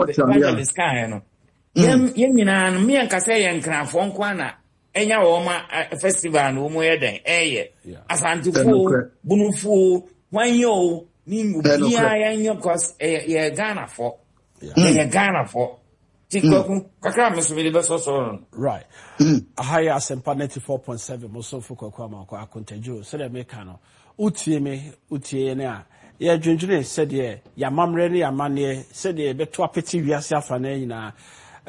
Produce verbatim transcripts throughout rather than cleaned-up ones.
Evangelist kaeɛ no, yɛn yɛn nyinaa no, mmea nkasa yɛ Nkranfoɔ nko ara na ɛnya wɔn festival no wɔn yɛ dɛn ɛyɛ Asantefoɔ, Bonofoɔ, hwan yɛ o, ne obiara yɛnyɛ, cause ɛyɛ yɛ Ghanafoɔ, yɛyɛ Ghanafoɔ. Ti Kwaku kakra mi so mi de bɛ sɔsɔ no. Right, aha yɛ Asɛmpa ninety-four point seven, mosofo Kwaku Amankɔ Akontadwo. Sɛdeɛ meka no, wotie me, wotie yɛn a yɛdwendwene sɛdeɛ yɛamammerɛ ne yɛamanneɛ, sɛdeɛ yɛbɛto apete wiase afa no nyinaa.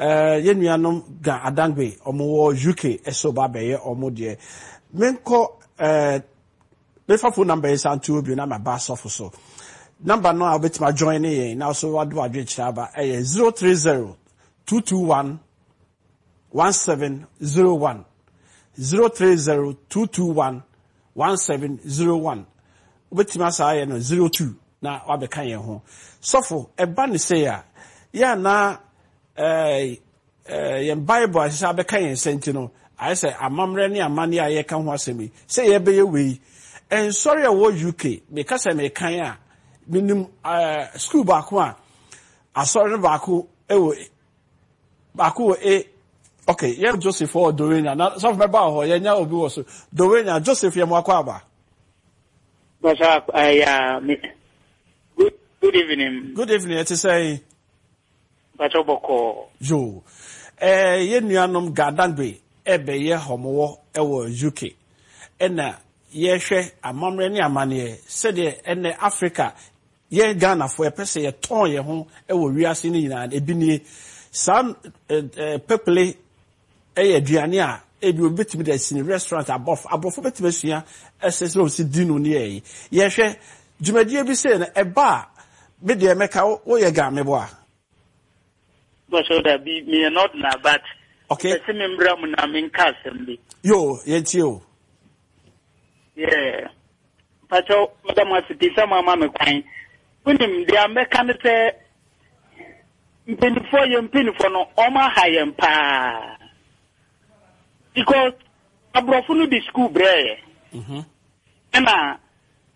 uh, yɛn nuanom Ga Adangbe, ɔmo wɔ U K, ɛsɛ ɔba abɛyɛ ɔmo deɛ. Menkɔ uh, mefa phone number yi sa nto obi na maba asɔfo so. Number no a wobɛtumi ajoin ne yɛn na so wado adwenkyerɛ aba ɛyɛ zero three zero two two one one seven zero one, zero three zero two two one one seven zero one. Wobɛtumi asa ayɛ no zero two na wabɛka yɛn ho. Sɔfo, ɛba ne sɛ a yɛ ana ɛɛ ɛɛ yɛn Bible ahyehyɛ abɛka yɛn nsa nti no, ayɛ sɛ amammerɛ ne amanneɛ a yɛka ho asɛm yi sɛ yɛbɛyɛ wei. Nsɔre a ɛwɔ U K, meka sɛ mekan a menim ɛɛ school baako a asɔre no baako ɛwɔ baako wɔ A. Okay, yɛn Joseph wɔ Dowenya na sɔfo mɛba wɔ hɔ. Yɛnya obi wɔ so Dowenya. Joseph, yɛ mo akɔ aba. Basa, uh, me, good, good evening. Good evening, ɛte sɛ? Basa bɔkɔ. Yo, ɛɛ yɛn nuanom Gadangbe ɛbɛyɛ hɔmowɔ ɛwɔ U K, ɛna yɛhwɛ amammerɛ ne amanneɛ sɛdeɛ ɛnɛ Africa, yɛn Ghanafoɔ yɛpɛ sɛ yɛtɔn yɛn ho ɛwɔ wiase no nyinaa. Ebi nie, saa ɛɛ pɛpele ɛyɛ aduane a ebi obi bɛtumi de asi ne restaurant, abɔfo aborɔfo bɛtumi asua ɛsɛ sɛ osi di no ne yɛ. Yɛhwɛ dwumadie bi sɛ no ɛba a, me deɛ mɛka woyɛ Ga meboa. Basa da bi me not na but. Okay. Ɛsɛ me mbra mu na me nka asɛm bi. Yo, yɛntie o. Yeah. Pacho, madam ase pii sɛ mo ama me kwan. Wonim deɛ mɛka ne sɛ mpanyinfoɔ, yɛ mpanyinfoɔ no, ɔmo aha yɛn paa. Because aborɔfo no de school brɛ yɛ. Mhm. Ɛna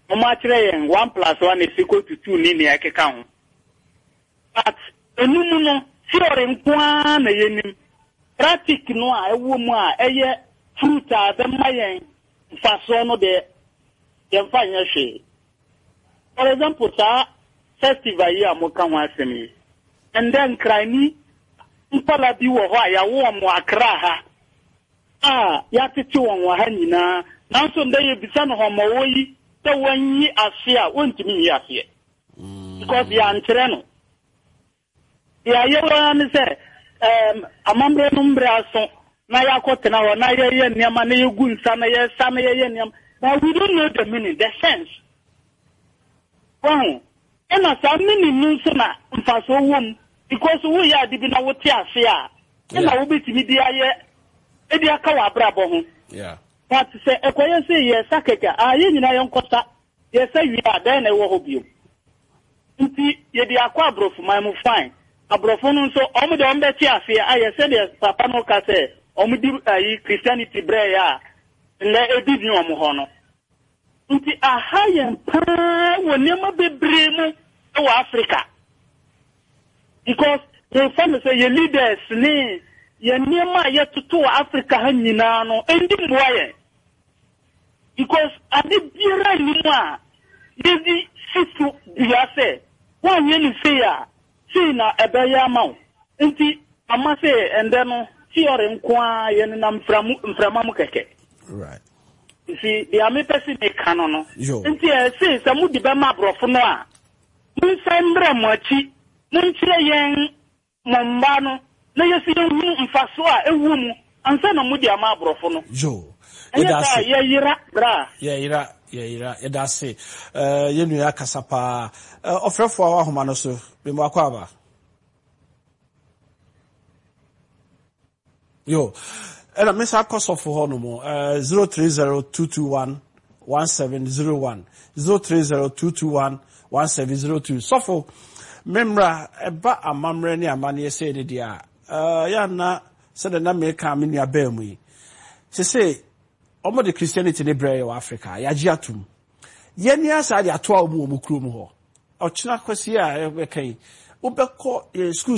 ɔmo akyerɛ yɛn one plus one is equal to two ne nea ɛkeka ho. But enum no, theory nko ara na yɛnim. Practice no a ɛwɔ mu a ɛyɛ fruit a ɛbɛma yɛn mfasoɔ no deɛ, yɛmfa nyɛ hwee. For example, saa festival yi a moka ho asɛm yi, ɛndɛ Nkrani nkɔla bi wɔ hɔ a yɛawo wɔn wɔ Akra ha a yɛatete wɔn wɔ ha nyinaa, nanso ndɛ yɛbisa no hɔmmɔwɔ yi sɛ wɔnyi ase a, wɔntumi nyi aseɛ because yɛankyerɛ no. Deɛ ayɛwɔ ara ne sɛ ɛɛm amammerɛ no mmerɛ aso na yɛakɔtena hɔ na yɛyɛ nneɛma na yɛgu nsa na yɛsa na yɛyɛ nneɛma, but we don't know the meaning, the sense. Wɔho ɛna saa meaning no nso na mfasoɔ wɔ mu, because woyɛ ade bi na wote ase a, ɛna wobɛtumi de ayɛ ɛde aka wɔ abrabɔ ho. Yeah. But sɛ ɛkɔyɛ sɛ yɛsa kɛkɛ a, yɛn nyinaa yɛnkɔsa, yɛsa wie a, dɛn na ɛwɔ hɔ bio? Nti yɛde akɔ aborɔfo man mu, fine. Aborɔfo no nso, ɔmo deɛ, ɔmo bɛte aseɛ ayɛ sɛdeɛ papa no ka sɛ ɔmo di ayi Christianity brɛ yɛ a, nnɛ ebi ni ɔmo hɔ no. Nti aha yɛn paa wɔ nneɛma bebree mu wɔ Africa, because yɛfa no sɛ yɛ leaders ne yɛn nneɛma a yɛtoto wɔ Africa ha nyinaa no ɛndi mmoa yɛn, because ade biara nni mu a yɛdi si so dua sɛ woanyɛ no sei a, sei na ɛbɛyɛ ama wo. Nti ama sɛ ɛndɛ no theory nko a, yɛnenam mframu mframa mu kɛkɛ. Right. Nti deɛ mepɛ sɛ meka no no Yo. nti ɛse sɛ mode bɛma aborɔfo no a, monsan mmerɛ mo akyi, monkyerɛ yɛn mo mma no na yɛsi yɛnhunu mfaso a ɛwɔ mu ansa na mode ama aborɔfo no. Yo. Ɛnyɛ Yɛda saa ase. yɛyera bra. Yɛyera, yɛyera. Yɛda ase. Ɛɛ yɛn nua akasa paa. Ɛɛ ɔfrɛfoɔ a wɔ ahoma no so, memu akɔ aba. Yo, ɛna me sa kɔ sɔfo hɔ nom. Ɛɛ zero three zero two two one one seven zero one, zero three zero two two one one seven zero two. Sɔfo, mmemmra ɛba amammerɛ ne amanneɛ sɛ ne deɛ a, ɛɛ yɛ ana sɛdeɛ na meka me nua bɛɛ mu yi sese ɔmo de Christianity ne brɛ yɛ wɔ Africa, yɛagye atom. Yɛni asa de atoa ɔmo wɔ ɔmo kurom hɔ. Ɔkyena kwasi a yɛbɛka yi, wobɛkɔ yɛn schools.